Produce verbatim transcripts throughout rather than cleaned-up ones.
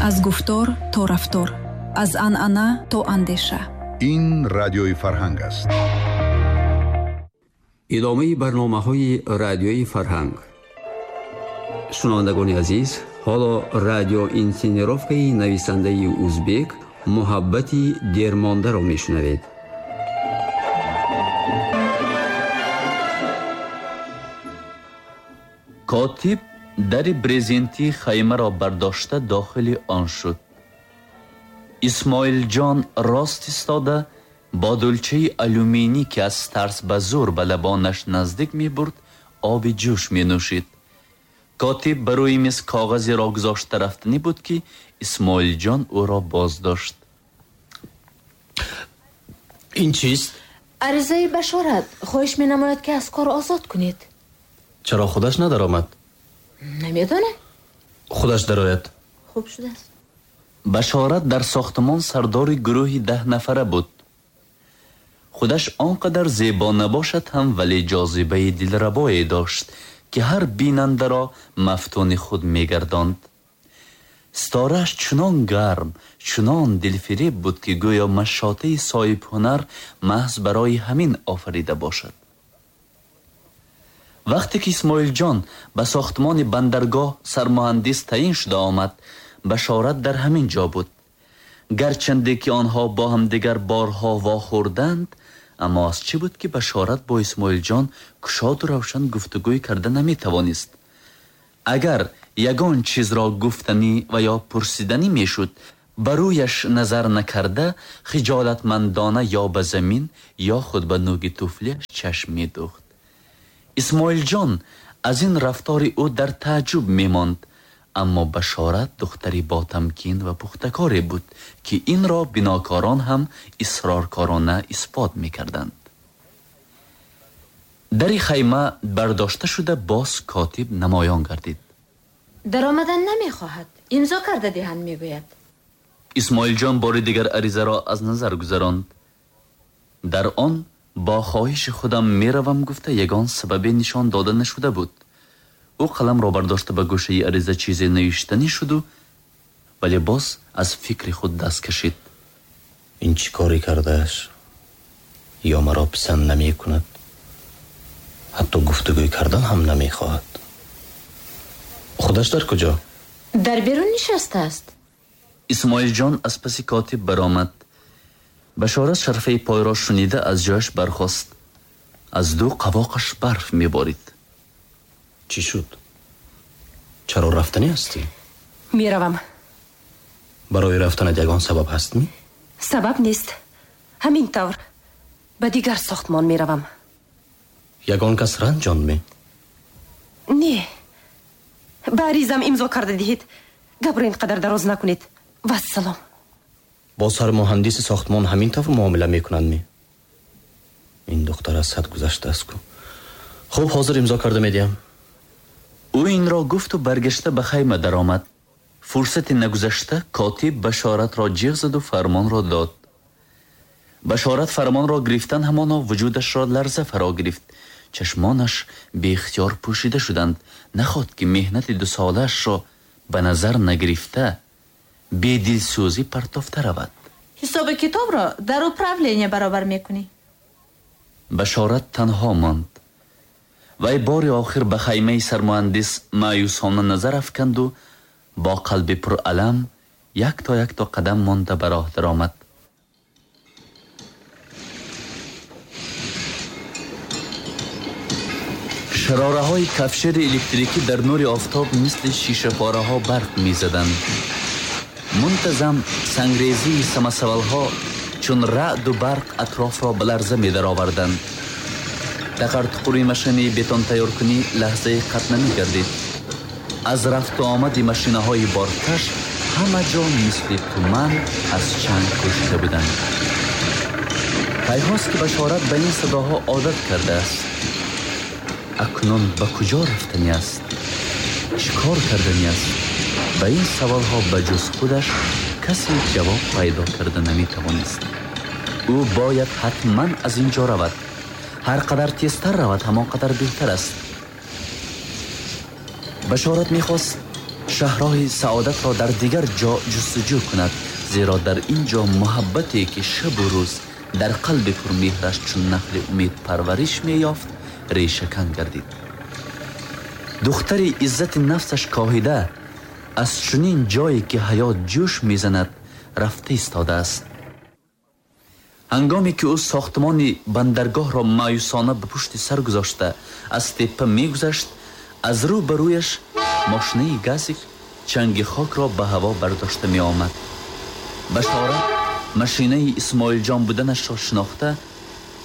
Аз гуфтор то рафтор, аз анъана то андеша. Ин радиои Фарҳанг аст. Идомаи барномаҳои радиои Фарҳанг. Шунавандагони азиз, ҳоло радиоинсценировкаи нависандаи узбек Муҳаббати дермондаро мешунавед. Котиб дари брезентии хаймаро бардошта дохили он шуд. Исмоилҷон рост истода бо дулчаи алюминӣ, ки аз тарс ба зӯр ба лабонаш наздик мебурд, оби ҷӯш менӯшид. Котиб ба рӯи миз коғазеро гузошта рафтанӣ буд, ки Исмоилҷон ӯро боздошт. Ин чист? Аризаи Башорат. Хоҳиш менамояд, ки аз кор озод кунед. Чаро худаш надаромад? Намедонам. Худаш дарояд. Хуб шудааст. Башорат дар сохтмон сардори гурӯҳи даҳ нафара буд. Худаш он қадар зебо набошад ҳам, вале ҷозибаи дилрабое дошт, ки ҳар бинандаро мафтуни худ мегардонд. Ситорааш чунон гарм, чунон дилфиреб буд, ки гӯё машотаи соҳибҳунар маҳз барои ҳамин офарида бошад. Вақте ки Исмоилҷон ба сохтмони бандаргоҳ сармуҳандис таъин шуда омад, Башорат дар ҳамин ҷо буд. Гарчанде ки онҳо бо ҳамдигар борҳо вохӯрданд, аммо аз чӣ буд, ки Башорат бо Исмоилҷон кушоду равшан гуфтугӯй карда наметавонист? Агар ягон чизро гуфтанӣ ва ё пурсиданӣ мешуд, ба рӯяш назар накарда, хиҷолатмандона ё ба замин ё худ ба нӯги туфлияш чашм медӯхт. Исмоилҷон аз ин рафтори ӯ дар тааҷҷуб мемонд, аммо Башорат духтари ботамкин ва пухтакоре буд, ки инро бинокорон ҳам исроркорона исбот мекарданд. Дари хайма бардошта шуда боз котиб намоён гардид. Даромадан намехоҳад, имзо карда диҳанд, мегӯяд. Исмоилҷон бори дигар аризаро аз назар гузаронд. Дар он бо хоҳиши худам меравам гуфта ягон сабабе нишон дода нашуда буд. Ӯ қаламро бардошта ба гӯшаи ариза чизе навиштанӣ шуду, вале боз аз фикри худ даст кашид. Ин чӣ коре кардааш? Ё маро писанд намекунад, ҳатто гуфтугӯй кардан ҳам намехоҳад. Худаш дар куҷо? Дар берун нишастааст. Исмоилҷон аз паси котиб баромад. Башорат шарфаи пойро шунида аз ҷояш бархост. Аз ду қавоқаш барф меборид. Чӣ шуд? Чаро рафтанӣ ҳастӣ? Меравам. Барои рафтанат ягон сабаб ҳастми? Сабаб нест. Ҳамин тавр ба дигар сохтмон меравам. Ягон кас ранҷондми? Не. Ба аризам имзо карда диҳед. Гапро ин қадар дароз накунед. Вассалом. Бо сармуҳандиси сохтмон ҳамин тавр муомила мекунандми? Ин духтар аз ҳад гузаштааст ку. Хуб, ҳозир имзо карда медиҳам. Ӯ инро гуфту баргашта ба хайма даромад. Фурсати нагузашта котиб Башоратро ҷиғ заду фармонро дод. Башорат фармонро гирифтан ҳамоно вуҷудашро ларза фаро гирифт. Чашмонаш беихтиёр пӯшида шуданд. Наход ки меҳнати дусолаашро ба назар нагирифта, бедилсӯзӣ партофта равад. Ҳисоби китобро дар управления баробар мекунӣ. Башорат танҳо монд. Вай бори охир ба хаймаи сармуҳандис маъюсона назар афканду бо қалби пуралам якто якто қадам монда ба роҳ даромад. Шарораҳои кафшери электрикӣ дар нури офтоб мисли шишапораҳо барқ мезаданд. Мунтазам сангрезии самасавалҳо чун раъду барқ атрофро ба ларза медароварданд. Тақартуқури машинаи бетонтайёркунӣ лаҳзаи қатъ намегардид. Аз рафту омади машинаҳои боркаш ҳама ҷо мисли туман аз чанг пӯшида буданд. Пайҳост, ки Башорат ба ин садоҳо одат кардааст. Акнун ба куҷо рафтанӣ аст? Чӣ кор карданӣ аст? Ба ин саволҳо ба ҷуз худаш касе ҷавоб пайдо карда наметавонист. Ӯ бояд ҳатман аз ин ҷо равад. Ҳар қадар тезтар равад, ҳамон қадар беҳтар аст. Башорат мехост Шаҳрҳои саодатро дар дигар ҷо ҷустуҷӯ кунад, зеро дар ин ҷо муҳаббате ки шабу рӯз дар қалби пурмеҳраш чун нахли умед парвариш меёфт, решакан гардид. Духтари иззати нафсаш коҳида аз чунин ҷое ки ҳаёт ҷӯш мезанад рафта истодааст. Ҳангоме ки ӯ сохтмони бандаргоҳро маъюсона ба пушти сар гузошта аз теппа мегузашт, аз рӯ ба рӯяш мошинаи газик чанги хокро ба ҳаво бардошта меомад. Башорат машинаи Исмоилҷон буданашро шинохта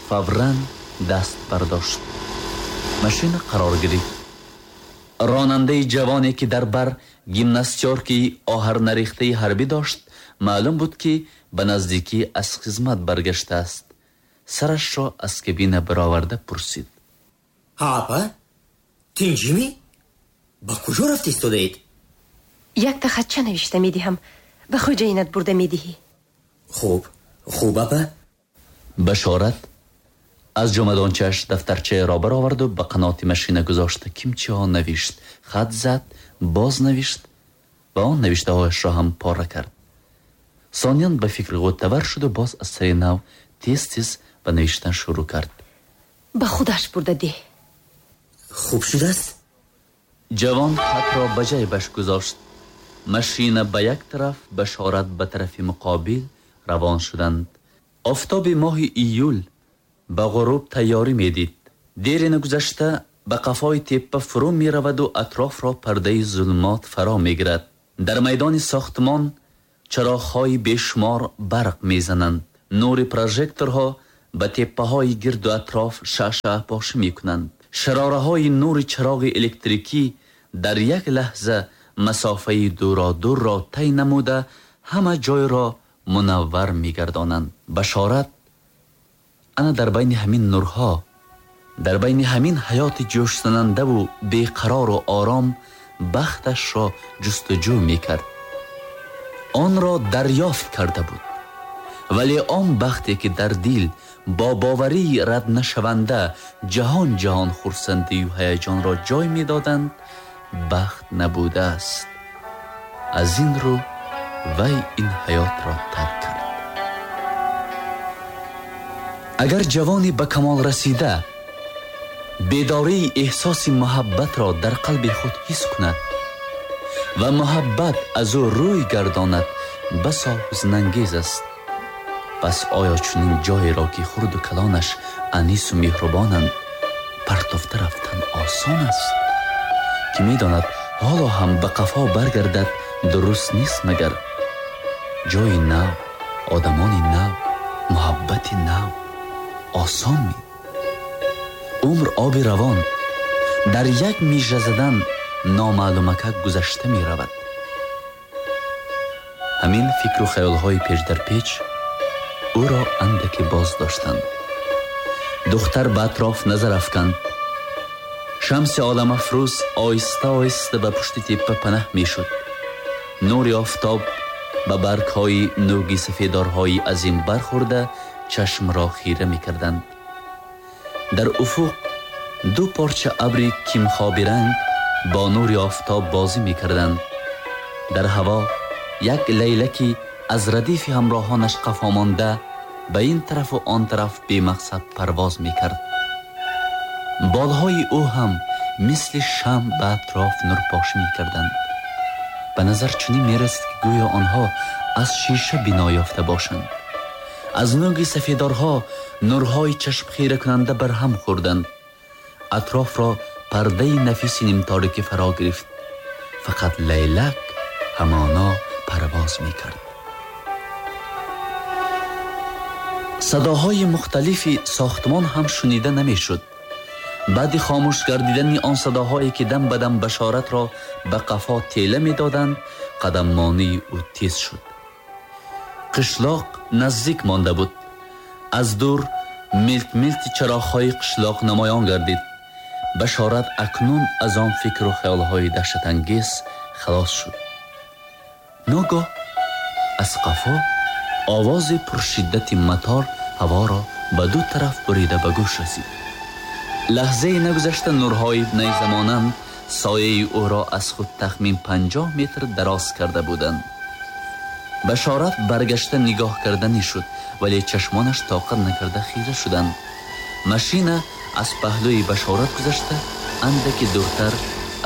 фавран даст бардошт. Машина қарор гирифт. Ронандаи ҷавоне ки дар бар гимнастёрки оҳарнарехтаи ҳарбӣ дошт, маълум буд ки ба наздикӣ аз хизмат баргаштааст. Сарашро аз кабина бароварда пурсид: Ҳа, апа, тинҷимӣ? Ба куҷо рафта истодаед? Якта хатча навишта медиҳам, ба хоҷаинат бурда медиҳӣ. Хуб, хуб, апа. Башорат аз ҷомадончааш дафтарчаеро бароварду ба қаноти машина гузошта кимчиҳо навишт, хат зад, боз навишт ва он навиштаҳояшро ҳам пора кард. Сониян ба фикри ғӯтавар шуду боз аз сари нав тез-тез ба навиштан шурӯъ кард. Ба худаш бурда деҳ. Хуб шудааст? Ҷавон хатро ба ҷайбаш гузошт. Машина ба як тараф, Башорат ба тарафи муқобил равон шуданд. Офтоби моҳи июл ба ғуруб тайёрӣ медид. Дери нагузашта ба қафои теппа фурӯ мераваду атрофро пардаи зулмот фаро мегирад. Дар майдони сохтмон чароғҳои бешумор барқ мезананд. Нури прожекторҳо ба теппаҳои гирду атроф шаъшаъпошӣ мекунанд. Шарораҳои нури чароғи электрикӣ дар як лаҳза масофаи дуродурро тай намуда ҳама ҷойро мунаввар мегардонанд. Башорат ана дар байни ҳамин нурҳо, дар байни ҳамин ҳаёти ҷӯшзанандаву беқарору ором бахташро ҷустуҷӯ мекард. Онро дарёфт карда буд, вале он бахте ки дар дил бо боварии раднашаванда ҷаҳон ҷаҳон хурсандию ҳаяҷонро ҷой медоданд, бахт набудааст. Аз ин рӯ вай ин ҳаётро тарк кард. Агар ҷавоне ба камол расида бедории эҳсоси муҳаббатро дар қалби худ ҳис кунад ва муҳаббат аз ӯ рӯй гардонад, басо ҳузнангез аст. Пас оё чунин ҷоеро ки хурду калонаш анису меҳрубонанд партофта рафтан осон аст? Ки медонад ҳоло ҳам ба қафо баргардад дуруст нест, магар ҷои нав, одамони нав, муҳаббати нав осон ми? Умр оби равон дар як мижа задан номаълумакак гузашта меравад. Ҳамин фикру хаёлҳои печ дар печ ӯро андаке боз доштанд. Духтар ба атроф назар афканд. Шамси оламафрӯз оҳиста оҳиста ба пушти теппа панаҳ мешуд. Нури офтоб ба баргҳои нӯги сафедорҳои азим бархӯрда чашмро хира мекарданд. Дар уфуқ ду порча абри кимхобиранг бо нури офтоб бозӣ мекарданд. Дар ҳаво як лайлаки аз радифи ҳамроҳонаш қафо монда ба ин тарафу он тараф бемақсад парвоз мекард. Болҳои ӯ ҳам мисли шамъ ба атроф нурпошӣ мекарданд. Ба назар чунин мерасид ки гӯё онҳо аз шиша бино ёфта бошанд. Аз нӯги сафедорҳо нурҳои чашмхиракунанда барҳам хӯрданд. Атрофро пардаи нафиси нимторикӣ фаро гирифт. Фақат лайлак ҳамоно парвоз мекард. Садоҳои мухталифи сохтмон ҳам шунида намешуд. Баъди хомӯш гардидани он садоҳое ки дам ба дам Башоратро ба қафо тела медоданд, қадаммонии ӯ тез шуд. Қишлоқ наздик монда буд. Аз дур милт-милти чароғҳои қишлоқ намоён гардид. Башорат акнун аз он фикру хаёлҳои даҳшатангез халос шуд. Ногоҳ аз қафо овози пуршиддати матор ҳаворо ба ду тараф бурида ба гӯш расид. Лаҳзае нагузашта нурҳои найзамонанд сояи ӯро аз худ тахмин панҷоҳ метр дароз карда буданд. Башорат баргашта нигоҳ карданӣ шуд, вале чашмонаш тоқат накарда хира шуданд. Машина аз паҳлӯи Башорат гузашта андаке дуртар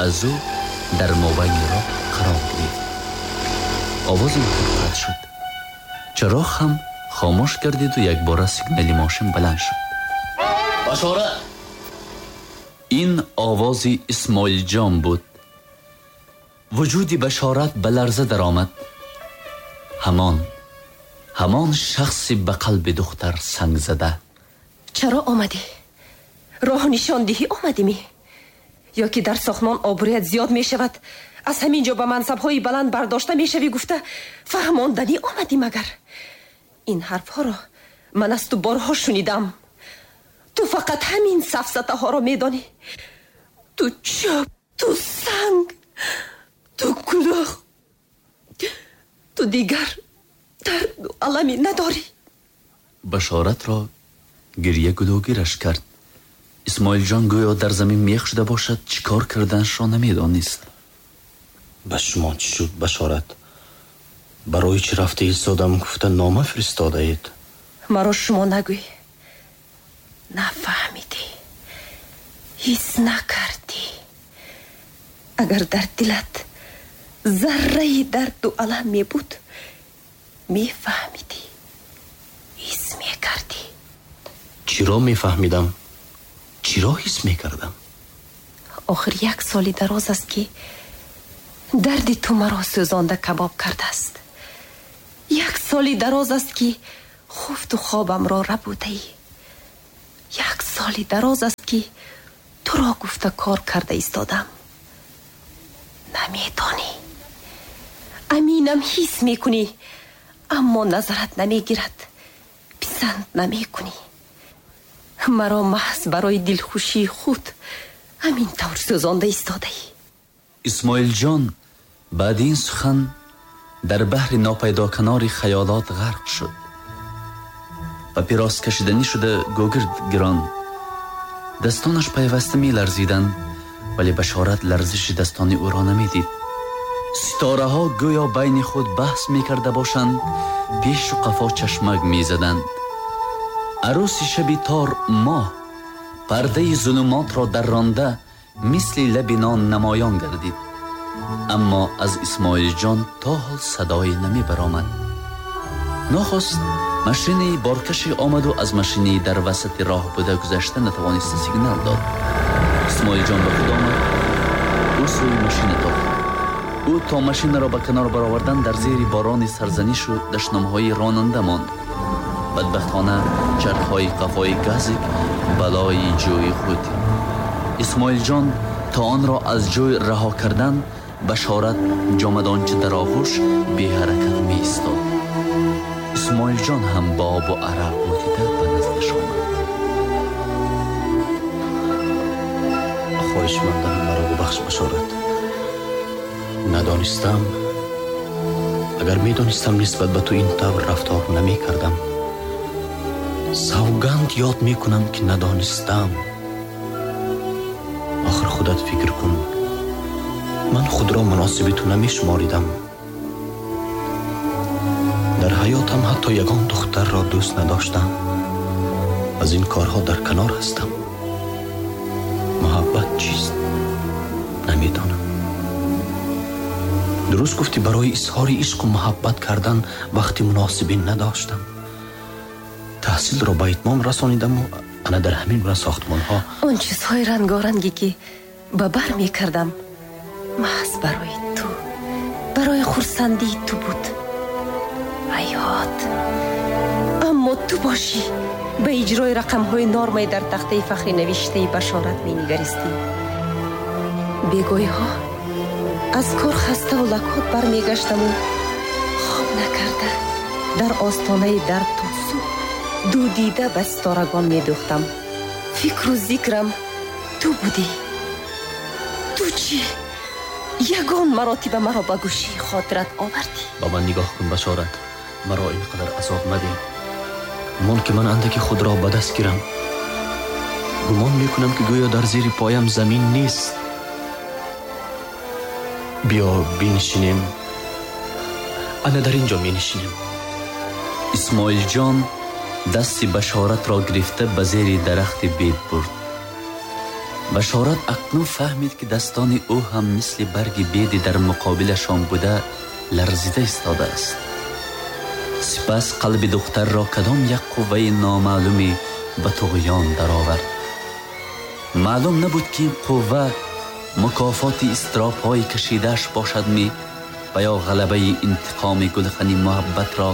аз ӯ дар мобайни роҳ қарор гирифт. Овози мотор қатъ шуд. Чароғ ҳам хомӯш гардиду якбора сигнали мошин баланд шуд. Башорат! Ин овози Исмоилҷон буд. Вуҷуди Башорат ба ларза даромад. Ҳамон ҳамон шахси ба қалби духтар санг зада. Чаро омадӣ? Роҳ нишондиҳӣ омадӣ-мӣ? Ё ки дар сохтмон обрӯят зиёд мешавад, аз ҳамин ҷо ба мансабҳои баланд бардошта мешавӣ гуфта фаҳмонданӣ омадӣ магар? Ин ҳарфҳоро ман аз ту борҳо шунидам. Ту фақат ҳамин сафсатаҳоро медонӣ. Ту чӯб, ту санг, ту кулоҳ. Ту дигар дарду аламе надорӣ. Башоратро гирья гулӯгираш кард. Исмоилҷон гӯё дар замин мех шуда бошад, чӣ кор карданашро намедонист. Ба шумо чӣ шуд, Башорат? Барои чӣ рафта истодам гуфта нома фиристодаед? Маро шумо нагӯй. Нафаҳмидӣ, ҳис накардӣ. Агар дар дилат зарраи дарду алам мебуд, мефаҳмидӣ, ҳис мекардӣ. Чиро мефаҳмидам? Чиро ҳис мекардам? Охир як соли дароз аст, ки дарди ту маро сӯзонда кабоб кардааст. Як соли дароз аст, ки хуфту хобамро рабудаӣ. Як соли дароз аст, ки туро гуфта кор карда истодам. Намедонӣ, аминам ҳис мекунӣ, аммо назарат намегирад, писанд намекунӣ. Маро маҳз барои дилхушии худ ҳамин тавр сӯзонда истодаӣ. Исмоилҷон баъди ин сухан дар баҳри нопайдоканори хаёлот ғарқ шуд. Папирос кашиданӣ шуда гогирд гирон. Дастонаш пайваста меларзиданд, вале Башорат ларзиши дастони ӯро намедид. Ситораҳо гӯё байни худ баҳс мекарда бошанд, пешу қафо чашмак мезаданд. Арӯси шаби тор моҳ пардаи зулумотро дарронда мисли лаби нон намоён гардид. Аммо аз Исмоилҷон то ҳол садое намебаромад. Нохост машинаи боркаше омаду аз машинаи дар васати роҳ буда гузашта натавониста сигнал дод. Исмоилҷон ба худ омад. Ӯ сӯи машина тохт. Ӯ то машинаро ба канор баровардан дар зери борони сарзанишу дашномҳои ронанда монд. Бадбахтона чархҳои қафои газик балои ҷӯи худ. Исмоилҷон то онро аз ҷӯй раҳо кардан, Башорат ҷомадонча дар оғӯш беҳаракат меистод. Исмоилҷон ҳам ба обу арақ бутида ба наздаш омад. Хоҳишмандам, маро бубахш, Башорат. Надонистам. Агар медонистам, нисбат ба ту ин тавр рафтор намекардам. Савганд ёд мекунам, ки надонистам. Охир худат фикр кун, ман худро муносиби ту намешуморидам. Дар ҳаётам ҳатто ягон духтарро дӯст надоштам. Аз ин корҳо дар канор ҳастам. Муҳаббат чист? Намедонам. Дуруст гуфтӣ, барои изҳори ишқу муҳаббат кардан вақти муносибе надоштам. Таҳсилро ба итмом расонидаму ана дар ҳамин гуна сохтмонҳо. Он чизҳои рангоранге ки ба бар мекардам, маҳз барои ту, барои хурсандии ту буд. Ҳаёт. Аммо ту бошӣ ба иҷрои рақамҳои нормаи дар тахтаи фахри навиштаи Башорат менигаристӣ. Бегоҳиҳо аз кор хаставу лакот бармегаштаму хоб накарда дар остонаи дар то субҳ дудида ба ситорагон медӯхтам. Фикру зикрам ту будӣ. Ту чӣ? Ягон маротиба маро ба гӯшии хотират овардӣ? Ба ман нигоҳ кун, Башорат. Маро ин қадар азоб мадеҳ. Мон ки ман андаке худро ба даст гирам. Гумон мекунам, ки гӯё дар зери поям замин нест. Биё бинишинем. Ана дар ин ҷо менишинем. Исмоилҷон дасти Башоратро гирифта ба зери дарахти бед бурд. Башорат акнун фаҳмид, ки дастони ӯ ҳам мисли барги беди дар муқобилашон буда ларзида истодааст. Сипас қалби духтарро кадом як қувваи номаълуме ба туғён даровард. Маълум набуд, ки ин қувва мукофоти изтиробҳои кашидааш бошад ми ва ё ғалабаи интиқоми гулхани муҳаббатро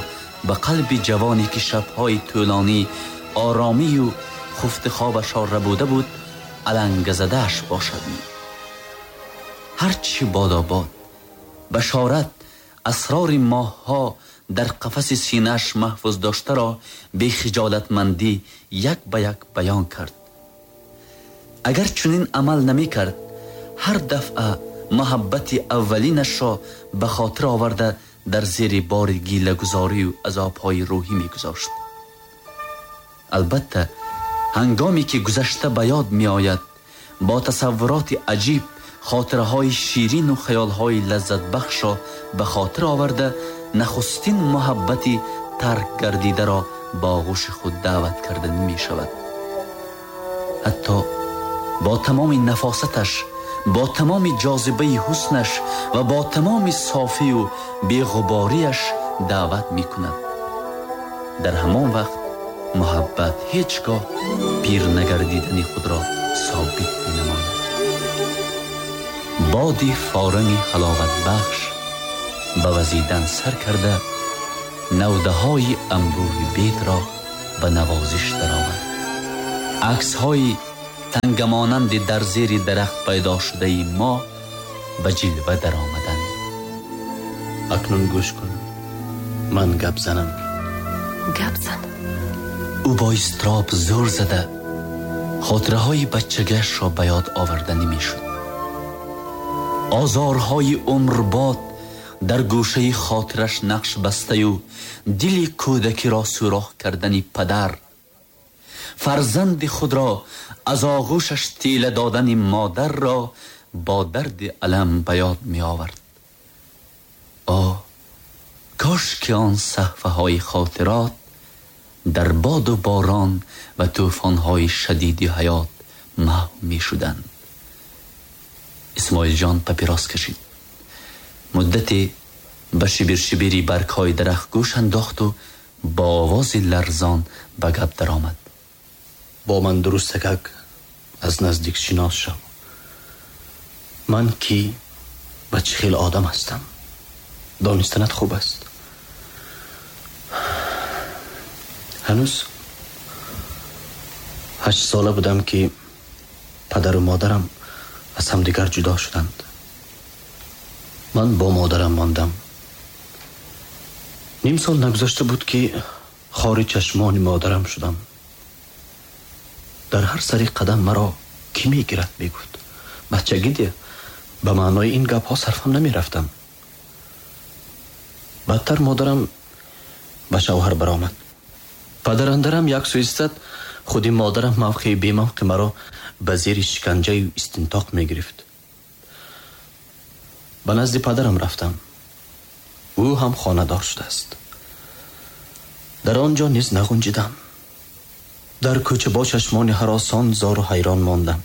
ба қалби ҷавоне, ки шабҳои тӯлонӣ оромию хуфти хобашро рабуда буд, алангазадааш бошад ми. Ҳарчи бодобод Башорат асрори моҳҳо дар қафаси синааш маҳфуз доштаро бехиҷолатмандӣ як ба як баён кард. Агар чунин амал намекард, ҳар дафъа муҳаббати аввалинашро ба хотир оварда дар зери бори гилагузорию азобҳои рӯҳӣ мегузошт. Албатта, ҳангоме ки гузашта ба ёд меояд, бо тасаввуроти аҷиб хотираҳои ширину хаёлҳои лаззатбахшро ба хотир оварда нахустин муҳаббати тарк гардидаро ба оғӯши худ даъват карда намешавад. Ҳатто бо тамоми нафосаташ, бо тамоми ҷозибаи ҳуснаш ва бо тамоми софию беғубориаш даъват мекунад. Дар ҳамон вақт муҳаббат ҳеҷ гоҳ пир нагардидани худро собит менамояд. Боди форами ҳаловатбахш ба вазидан сар карда навдаҳои анбӯҳи бедро ба навозиш даровард. Аксҳои тангамонанди дар зери дарахт пайдо шудаи мо ба ҷилва даромаданд. Акнун гӯш кун, ман гап занам. Гап зан. Ӯ бо изтироб зӯр зада хотираҳои бачагиашро ба ёд оварда намешуд. Озорҳои умрбод дар гӯшаи хотираш нақш бастаю дили кӯдакиро сӯрох кардани падар, фарзанди худро аз оғӯшаш тела додани модарро бо дарди алам ба ёд меовард. О, кош ки он саҳфаҳои хотирот дар боду борон ва тӯфонҳои шадиди ҳаёт маҳв мешуданд. Исмоилҷон папирос кашид. Муддате ба шибиршибири баргҳои дарахт гӯш андохту бо овози ларзон ба гап даромад. Бо ман дурустакак аз наздик шинос шав. Ман кӣ ва чӣ хел одам ҳастам донистанат хуб аст. Ҳанӯз ҳашт сола будам, ки падару модарам аз ҳамдигар ҷудо шуданд. Ман бо модарам мондам. Ним сол нагузашта буд, ки хори чашмони модарам шудам. Дар ҳар сари қадам маро кӣ мегирад мегуфт. Бачагӣ де, ба маънои ин гапҳо сарфам намерафтам. Баъдтар модарам ба шавҳар баромад. Падарандарам як сӯ истад, худи модарам мавқеи бемавқе маро ба зери шиканҷаю истинтоқ мегирифт. Ба назди падарам рафтам. Ӯ ҳам хонадор шудааст. Дар он ҷо низ нағунҷидам. Дар кӯча бо чашмони ҳаросон зору ҳайрон мондам.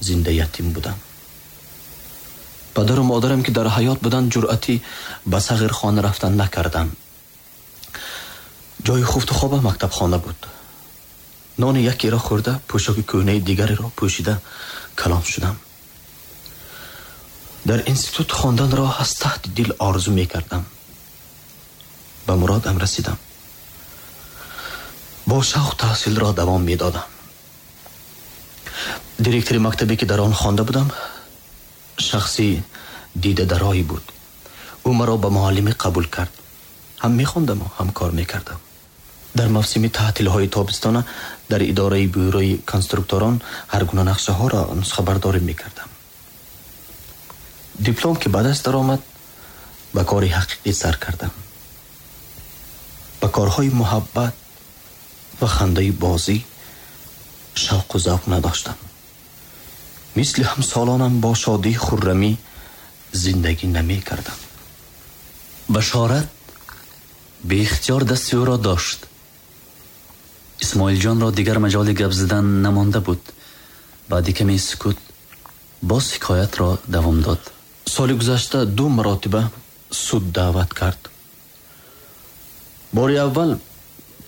Зинда ятим будам. Падару модарам, ки дар ҳаёт буданд, ҷуръатӣ ба сағирхона рафтан накардам. Ҷои хуфту хобам мактабхона буд. Нони якеро хӯрда, пӯшоки кӯҳнаи дигареро пӯшида калон шудам. Дар институт хонданро аз таҳти дил орзу мекардам. Ба муродам расидам. Бо шавқ таҳсилро давом медодам. Директори мактабе, ки дар он хонда будам, шахси дидадарое буд. Ӯ маро ба муаллимӣ қабул кард. Ҳам мехондаму ҳам кор мекардам. Дар мавсими таътилҳои тобистона дар идораи бюрои конструкторон ҳар гуна нақшаҳоро нусхабардорӣ мекардам. Диплом ки ба даст даромад, ба кори ҳақиқӣ сар кардам. Ба корҳои муҳаббат ва хандаи бозӣ шавқу завқ надоштам. Мисли ҳамсолонам бо шодии хуррамӣ зиндагӣ намекардам. Башорат беихтиёр дасти ӯро дошт. Исмоилҷонро дигар маҷоли гап задан намонда буд. Баъди каме сукут боз ҳикоятро давом дод. Соли гузашта ду маротиба суд даъват кард. Бори аввал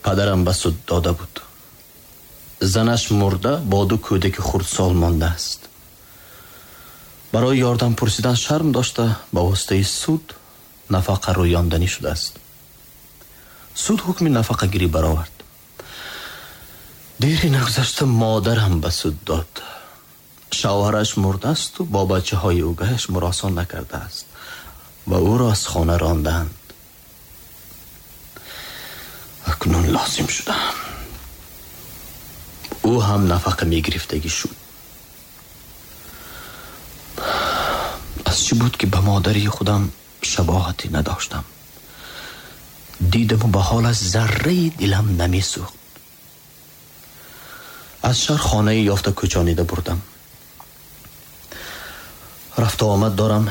падарам ба суд дода буд. Занаш мурда, бо ду кӯдаки хурдсол мондааст. Барои ёрдам пурсидан шарм дошта, ба воситаи суд нафақа рӯёнданӣ шудааст. Суд ҳукми нафақагирӣ баровард. Дери нагузашта модарам ба суд дод. Шавҳараш мурдаасту бо бачаҳои угаяш муросон накардааст ва ӯро аз хона ронданд. Акнун лозим шудам. Ӯ ҳам нафақа мегирифтагӣ шуд. Аз чӣ буд ки ба модари худам шабоҳате надоштам? Дидаму ба ҳолаш зарраи дилам намесӯхт. Аз шаҳр хонаи ёфта кӯчонида бурдам. Рафту омад дорам,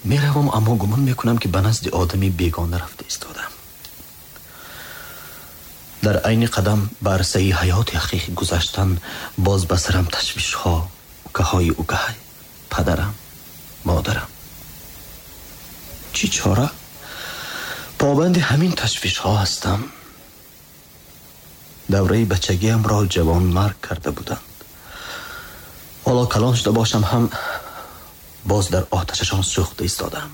меравам, аммо гумон мекунам ки ба назди одами бегона рафта истодам. Дар айни қадам ба арсаи ҳаёти ҳақиқӣ гузаштан боз ба сарам ташвишҳо, укаҳои укаҳай, падарам, модарам. Чӣ чора? Побанди ҳамин ташвишҳо ҳастам. Давраи бачагиамро ҷавонмарг карда буданд. Ҳоло калон шуда бошам ҳам боз дар оташашон сӯхта истодам.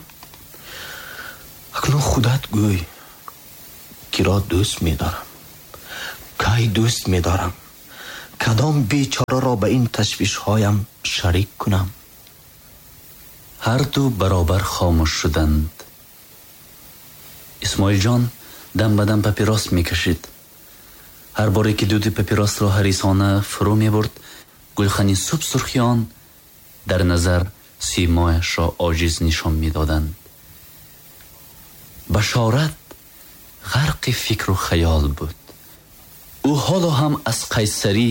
Акнун худат гӯй, киро дӯст медорам, кай дӯст медорам, кадом бечораро ба ин ташвишҳоям шарик кунам? Ҳар ду баробар хомӯш шуданд. Исмоилҷон дам ба дам папирос мекашид. Ҳар боре ки дуди папиросро ҳарисона фурӯ мебурд, гулхани субсурхи он дар назар симояшро оҷиз нишон медоданд. Башорат ғарқи фикру хаёл буд. Ӯ ҳоло ҳам аз қайсарӣ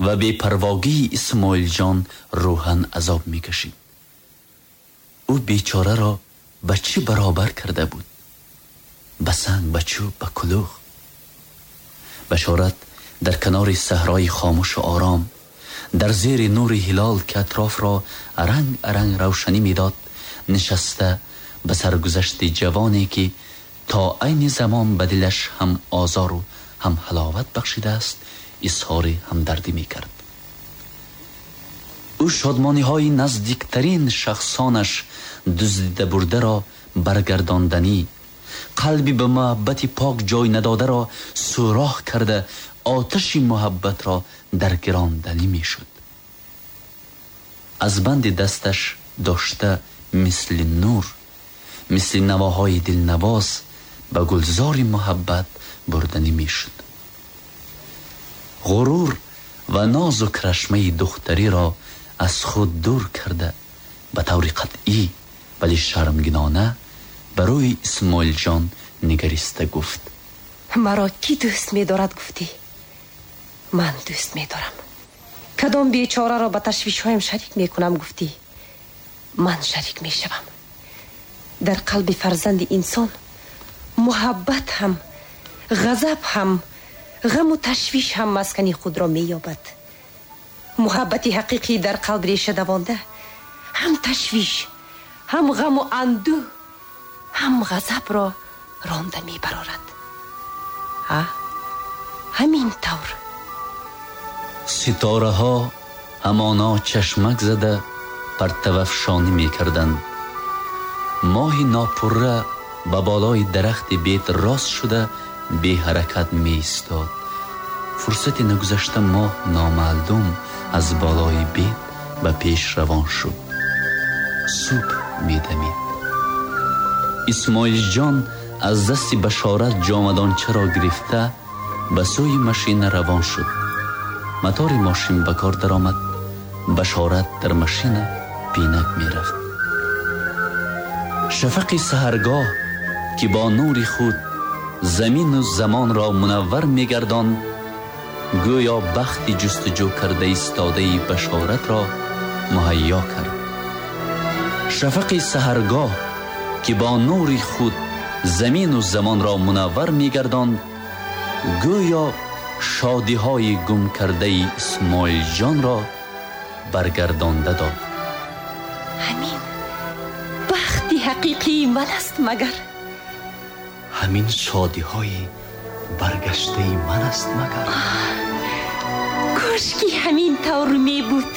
ва бепарвогии Исмоилҷон рӯҳан азоб мекашид. Ӯ бечораро ба чӣ баробар карда буд? Ба санг, ба чӯб, ба кулух. Башорат дар канори саҳрои хомӯшу ором, дар зери нури ҳилол ки атрофро аранг аранг равшанӣ медод, нишаста ба саргузашти ҷавоне ки то айни замон ба дилаш ҳам озору ҳам ҳаловат бахшидааст, изҳори ҳамдардӣ мекард. Ӯ шодмониҳои наздиктарин шахсонаш дуздида бурдаро баргардонданӣ, қалби ба муҳаббати пок ҷой надодаро сӯроҳ карда, оташи муҳаббатро даргиронданӣ мешуд. Аз банди дасташ дошта мисли нур, мисли навоҳои дилнавоз ба гулзори муҳаббат бурданӣ мешуд. Ғурур ва нозу крашмаи духтариро аз худ дур карда, ба таври қатъӣ вале шармгинона ба рӯи Исмоилҷон нигариста гуфт: маро кӣ дӯст медорад гуфтӣ? Ман дӯст медорам. Кадом бечораро ба ташвишҳоям шарик мекунам гуфтӣ? Ман шарик мешавам. Дар қалби фарзанди инсон муҳаббат ҳам, ғазаб ҳам, ғаму ташвиш ҳам маскани худро меёбад. Муҳаббати ҳақиқӣ дар қалб реша давонда, ҳам ташвиш, ҳам ғаму андӯҳ, ҳам ғазабро ронда мебарорад. Ҳа, ҳамин тавр. Ситораҳо ҳамоно чашмак зада партавафшонӣ мекарданд. Моҳи нопурра ба болои дарахти бет рост шуда беҳаракат меистод. Фурсати нагузашта моҳ номаълум аз болои бет ба пеш равон шуд. Субҳ медамид. Исмоилҷон аз дасти Башорат ҷомадончаро гирифта ба сӯи машина равон шуд. Мотори мошин ба кор даромад. Башорат дар машина пинак мерафт. Шафақи саҳаргоҳ ки бо нури худ замину замонро мунаввар мегардонд, гӯё бахти ҷустуҷӯ карда истодаи Башоратро муҳайё кард. Шафақи саҳаргоҳ, ки бо нури худ замину замонро мунаввар мегардонд, гӯё шодиҳои гумкардаи Исмоилҷонро баргардонда дод. Ҳамин бахти ҳақиқии ман аст магар? Ҳамин шодиҳои баргаштаи ман аст магар? Кош ки ҳамин тавр мебуд.